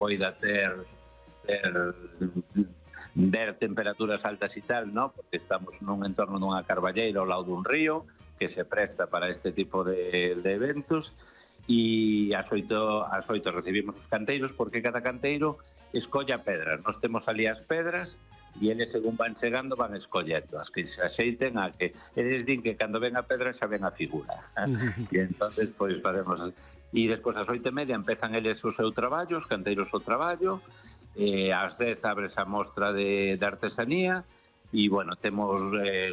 poida ver temperaturas altas e tal, ¿no? Porque estamos nun entorno dunha carballeira ao lado dun río que se presta para este tipo de eventos, e ás 8 recibimos os canteiros, porque cada canteiro escolla pedras. Nós temos ali as pedras e eles, según van chegando, van escollendo as que se axeiten a que eles din que cando ven a pedra xa ven a figura. E entonces pois facemos, e despois ás 8:30 empezan eles o seu traballo, os canteiros o traballo. Ás 10 abres a mostra de artesanía e, bueno, temos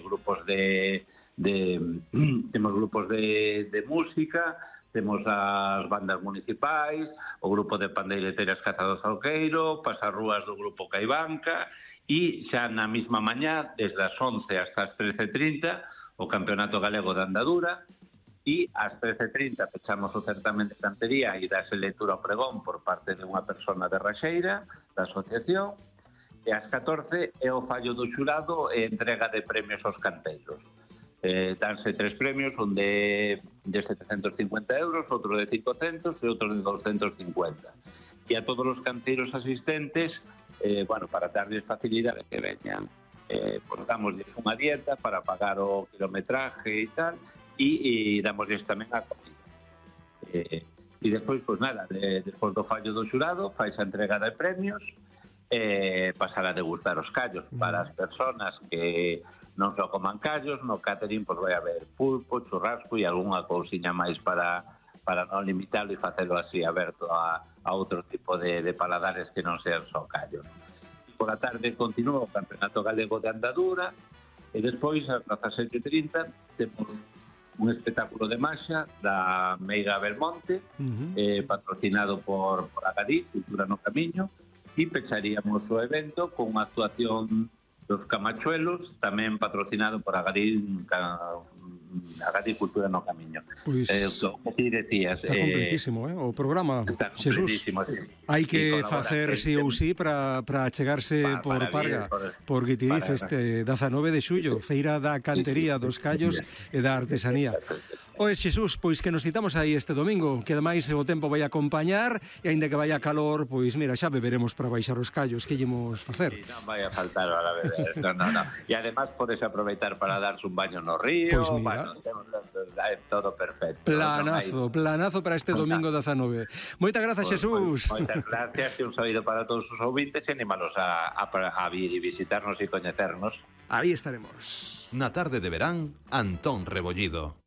grupos temos grupos de música, temos as bandas municipais, o grupo de pandeireteiras Cazados ao Queiro, pasarrúas do grupo Caibanca, e xa na mesma mañá, desde as 11 hasta as 13:30, o Campeonato Galego de Andadura, e ás 13:30 pechamos o certamen de cantería e dase lectura ao pregón por parte de unha persona de Raxeira, da asociación, e ás 14 é o fallo do xurado e entrega de premios aos canteiros. Danse 3 premios, un de 750 euros, outro de 500 e outro de 250. E a todos os canteiros asistentes, bueno, para darles facilidade que veñan, pues damosles unha dieta para pagar o kilometraje e tal, e damosles tamén a comida. E despois, pois nada, despois do fallo do xurado, fais a entrega de premios, pasar a degustar os callos para as personas que non só coman callos. No catering pois vai haber pulpo, churrasco e algunha cousiña máis para non limitalo e facelo así aberto a outro tipo de paladares que non sean só callos. Por a tarde continúa o Campeonato Galego de Andadura e despois, ás 17:30, temos un espectáculo de marxa da Meiga Belmonte, patrocinado por Agadí, Cultura no Camiño, e pecharíamos o evento con unha actuación dos Camachuelos, tamén patrocinado por Agadí Cultura no Camiño. Pois o que decías, está completísimo, o programa, Xesús. Sí. Hai que facer sí ou sí para chegarse por Parga, porque te dice este 19 de xullo, Feira da Cantería, dos Callos e da Artesanía. Oe, Xesús, pois que nos citamos aí este domingo, que ademais o tempo vai acompañar, e aínda que vai a calor, pois mira, xa beberemos para baixar os callos, que llemos facer. Sí, non vai a faltar a beber, no. E ademais podes aproveitar para darse un baño no río, pois mira, é todo perfecto. Planazo para este domingo 19. Moitas grazas, Xesús. Moitas gracias, e un saído para todos os ouvintes, e animalos a vir e visitarnos e coñecernos. Aí estaremos. Na tarde de verán, Antón Rebollido.